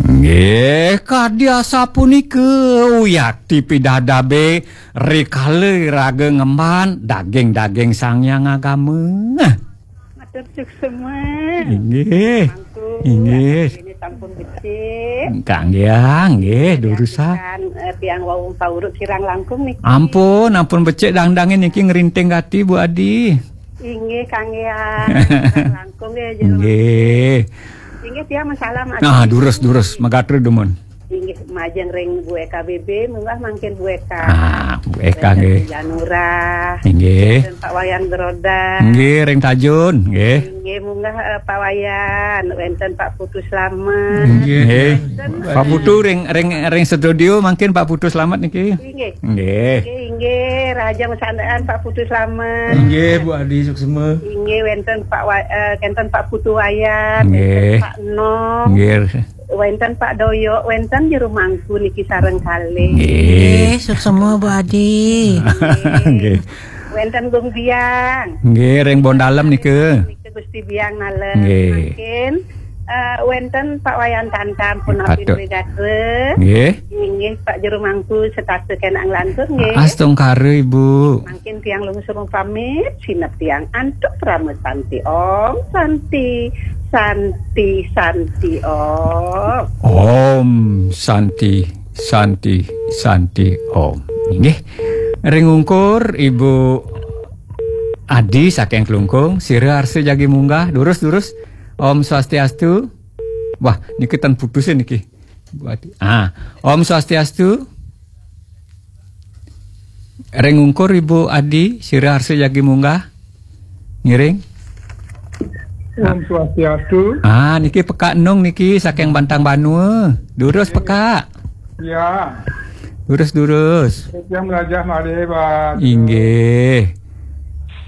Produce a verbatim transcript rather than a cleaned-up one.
Nggih, kadi asapunika uyati pidadabe rikala raga ngemban daging-daging Sang Hyang Agama. Matur suksma. Inggih. Mangku, inggih. Ini sampun becik. Kangge, nggih, durus, ah. Kan, eh, tiang wau pauruk kirang langkung niki. Ampun, ampun becik dangdange niki ngrinting gati, Bu Adi. Inggih, kangge, ah. Kirang langkung nggih, Jero. Inggih. Inggih, tiang masalam. Nah, durus, durus, magatra dumun. Inggih, majeng ring Bu Eka B B, munggah mangkin Bu Eka. Ah, Bu Eka, nggih. Janura. Inggih. Wenten Pak Wayan Geroda. Nggih, ring Tajun, nggih. Inggih, munggah, eh, Pak Wayan. Wenten Pak Putu Slamet. Nggih. Nggih. Pak Putu ring, ring, ring studio mangkin Pak Putu Slamet niki. Inggih. Nggih. Inggih, inggih, rahajeng sandaan Pak Putu Slamet. Inggih, Bu Adi suksma. Inggih, wenten Pak Wa-, eh, wenten Pak Putu Wayan, wenten, nggih, Pak Nom. Nggih. Wenten Pak Doyok, wenten jero mangku niki sareng kalih. Nggih. Nggih, suksma Bu Adi. Nggih. Nggih. Wenten Gung Biang. Nggih, ring Bondalem nika. Nika Gusti Biang nalem. Nggih. Mangkin, eh, wenten Pak Wayan Tantam punapi, patut, duwe gatra. Nggih. Inggih Pak Jero Mangku setata kenang lantur nggih. Astungkara Ibu. Mangkin tiang lungsur pamit, sineb tiang antuk parama santi. Om Santi, Santi, Santi Om. Om Santi, Santi, Santi Om. Inggih. Ring ungkur Ibu Adi saking Klungkung, sira arsa jagi munggah, durus, durus. Om Swastiastu. Wah, niki ten putus niki. Bu Adi. Ah, Om Swastiastu. Ring ungkur Ibu Adi, sira arsa jagi munggah. Ngiring. Om Swastiastu. Ah, niki Pekak Nung niki saking Bantang Banua. Durus, Pekak. Ya. Durus, durus. Yang melajah malih, Pak. Inggih.